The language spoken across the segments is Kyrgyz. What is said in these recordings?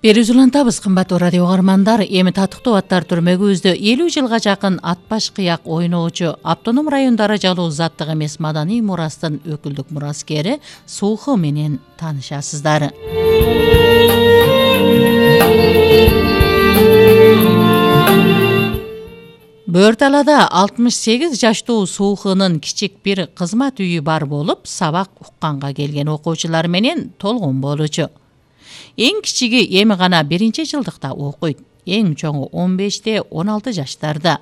Берүүбүз улантабыз, кымбаттуу радио угармандар. Эми татыктуу аттар түрмөгүбүздө 50 жылга жакын атбаш кыяк ойноочу, автоном район даражалуу заттык эмес маданий мурастын өкүлдүк мураскери Суухы менен таанышасыздар. Бөөр-талаада 68 жаштуу Суухынын кичик бир кызмат үйү бар болуп, сабак укканга келген окуучулар менен толгон болчу. Эң кичиги эми гана 1-жылдыкта окуйт, эң чоңу 15-16 жаштарда.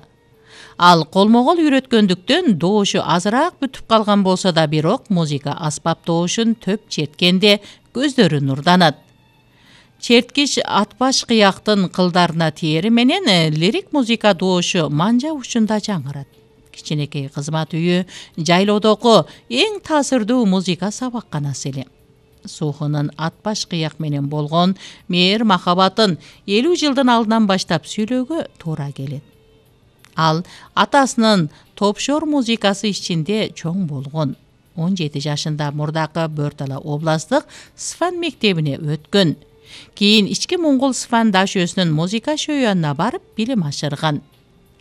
Ал колмо-кол үйрөткөндүктөн доошу азыраак бүтүп калган болсо да, бирок музыка аспап доошун төп черткенде көздөрү нурданат. Черткич атбаш кыяктын кылдарына тиери менен лирик музыка доошу манжа учунда жаңырат. Кичинекей кызмат үйү жайлоодогу эң таасирдүү музыка сабакканасы эле. Суухынын атбаш кыяк менен болгон мээр махабатын 50 жылдын алдынан баштап сүйлөөгө туура келет. Ал атасынын топшор музыкасы ичинде чоң болгон. 17 жашында мурдакы Бөөр-Тала областтык Сфан мектебине өткөн. Кийин ички моңгол Сфан дашөөсүнүн музыка шөйөнүнө барып билим ашырган.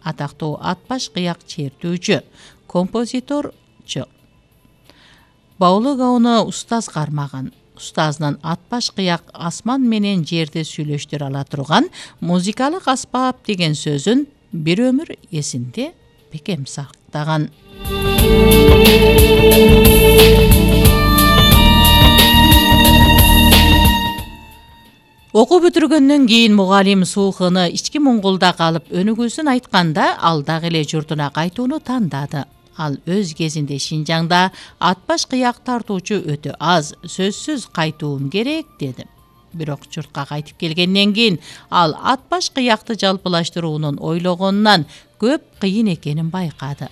Атактуу атбаш кыяк чертүүчү, композиторчу. Баулугауну устаз кармаган. Устазынын атбаш кыяк асман менен жерди сүйлөштүрө ала турган музыкалык аспап деген сөзүн бир өмүр эсинде бекем сактаган. Окуу бүтүргөндөн кийин мугалим Суухыны ички Монголдо калып өнүгүүсүн айтканда, ал дагы эле журтуна кайтууну тандады. Ал өз кезинде Шинжаңда атбаш кыяк тартуучу өтө аз, сөзсүз кайтуум керек деди. Бирок журтка кайтып келгенден кийин ал атбаш кыякты жалпылаштыруунун ойлогонунан көп кыйын экенин байкады.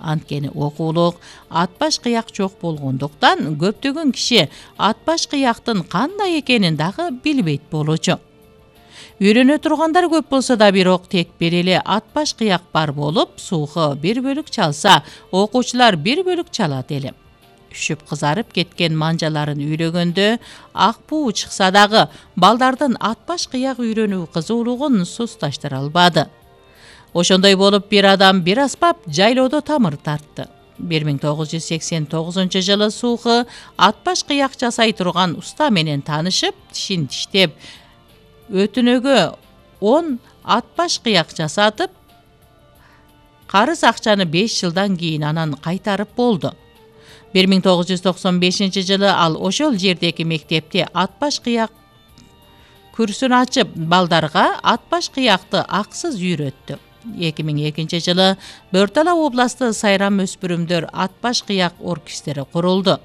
Анткени окуулук атбаш кыяк жок болгондуктан көптөгөн киши атбаш кыяктын кандай экенин дагы билбейт болчу. Үйрөнө тургандар көп болсо да, бирок тек бир эле атбаш кыяк бар болуп, Суухы бир бөлүк чалса, окуучулар бир бөлүк чалат эле. Үшүп кызарып кеткен манжаларын үйлөгөндө ак буу чыкса дагы, балдардын атбаш кыяк үйрөнүү кызуулугун сусташтыра албады. Ошондой болуп, бир адам бир аспап жайлоодо тамыр тартты. 1989 жылы Суухы атбаш кыяк жасай турган уста менен таанышып, тишин тиштеп, өтүнөгө 10 атбаш кыяк жасатып, карыз акчаны 5 жылдан кийин анан кайтарып болду. 1995 жылы ал ошол жердеги мектепте атбаш кыяк курсун ачып, балдарга атбаш кыякты аксыз үйрөттү. 2002 жылы Бөөр-Тала областы Сайрам өспүрүмдөр атбаш кыяк оркестри курулду.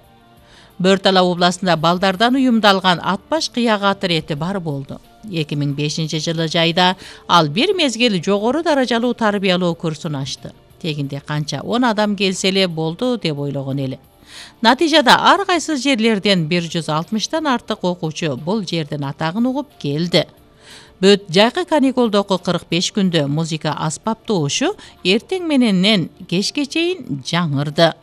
Бөөр-Тала областында балдардан уюмдалган атбаш кыяк атырети бар болду. 2005 жылы жайда ал бир мезгил жогору даражалуу тарбиялоо курсун ачты. Тегинде канча 10 адам келсе эле болду деп ойлогон эле. Натыйжада ар кайсы жерлерден 160тан артык окуучу бул жердин атагын угуп келди. Бүт жайкы каникулдогу 45 күндө музыка аспап доошу эртең мененен кечке чейин жаңырды.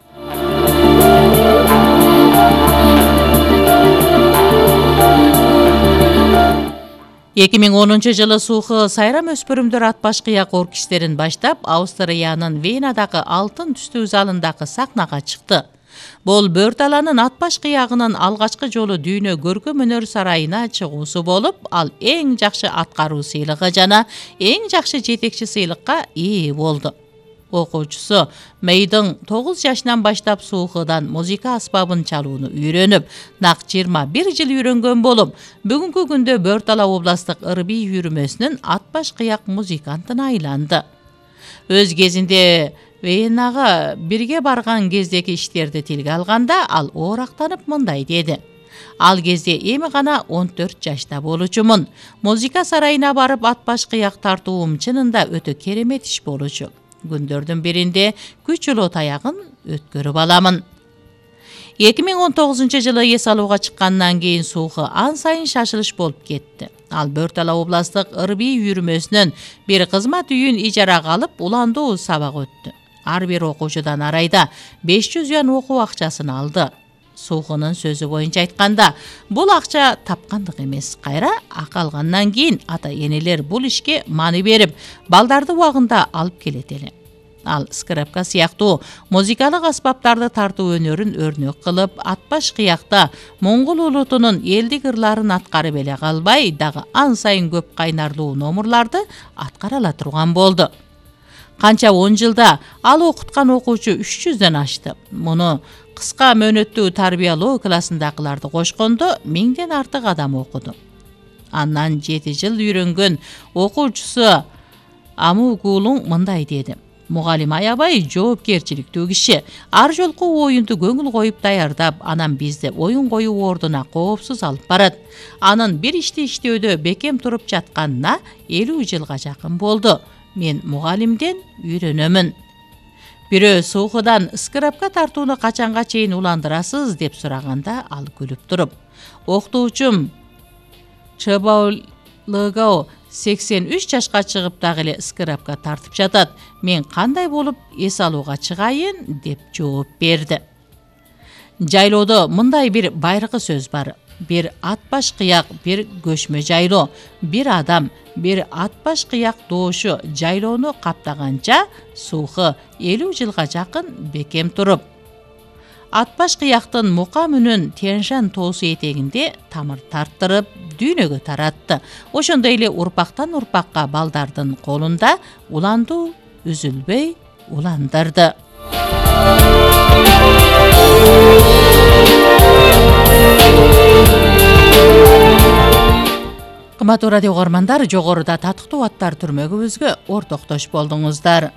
2010 жылы Суухы Сайрам өспүрүмдөр атбаш кыяк оркестрин баштап, Австриянын Венадагы алтын түстүү залындагы сахнага чыкты. Бул Бөөр-Таланын атбаш кыягынын алгачкы жолу дүйнө көркөм өнөр сарайына чыгуусу болуп, ал эң жакшы аткаруу сыйлыгы жана эң жакшы жетекчи сыйлыкка ээ болду. Окуучусу Мейдың 9 жашынан баштап Суухыдан музыка аспабын чалууну үйрөнүп, нак 21 жыл үйрөнгөн болуп, бүгүнкү күндө Бөөр-Тала областык ырбий үйүрмөсүнүн атбаш кыяк музыкантына айланды. Өз кезинде Венага бирге барган кездеги иштерди тилге алганда, ал оорактанып мындай деди: Ал кезде эми гана 14 жашта болчумун. Музыка сарайына барып атбаш кыяк тартуум чынында өтө керемет иш болчу. Күндөрдүн биринде күч улуу таягын өткөрүп аламын. 2019 жылы эс алууга чыккандан кийин Суухы ан сайын шашылыш болуп кетти. Ал Бөөр-Тала областык ырбий үйүрмөсүнүн бир кызмат үйүн ижарага алып, уландуу сабак өттү. Ар бир окуучудан арайда 500 юан окуу акчасын алды. Суухунун сөзү боюнча айтканда, бул акча тапкандык эмес. Кайра акы алгандан кийин ата-энелер бул ишке маани берип, балдарды убагында алып келет эле. Ал скрипка сыяктуу музыкалык аспаптарды тартуу өнөрүн өрнөк кылып, атпаш кыякта моңгол улутунун элдик ырларын аткарып эле калбай, дагы ан сайын көп кайнарлуу номурларды аткара ала турган болду. Канча 10 жылда ал окуткан окуучу 300дөн ашты. Муну кыска мөөнөттүү тарбиялоо классындагыларды кошкондо 1000ден артык адам окуду. Андан 7 жыл үйрөнгөн окуучусу Амугулуң мындай деди: Мугалим аябай жоопкерчиликтүү киши. Ар жолку оюнду көңүл коюп даярдап, анан бизди оюн коюу ордуна коопсуз алып барат. Анын бир ишти иштөөдө бекем туруп жатканына 50 жылга жакын болду. Мен мугалимден үйрөнөмүн. Бирөө суухудан скрипка тартууну качанга чейин уландырасыз деп сураганда, ал күлүп туруп: Окутуучум Чебаулыгао 83 жашка чыгып дагы эле скрипка тартып жатат. Мен кандай болуп эс алууга чыгайын деп жооп берди. Жайлоодо мындай бир байыркы сөз бар: бир атбаш кыяк, бир көчмө жайлоо, бир адам, бир атбаш кыяк доошу жайлоону каптаганча сууху 50 жылга жакын бекем туруп. Атбаш кыяктын мука мүнүн Тяньшань тоосу этегинде тамыр тарттырып, дүйнөгө таратты. Ошондой эле урпактан урпакка балдардын колунда уланду үзүлбөй уландырды. Кымбаттуу радио угармандар, жогоруда татыктуу аттар түрмөгүбүзгө ортоктош болдуңуздар.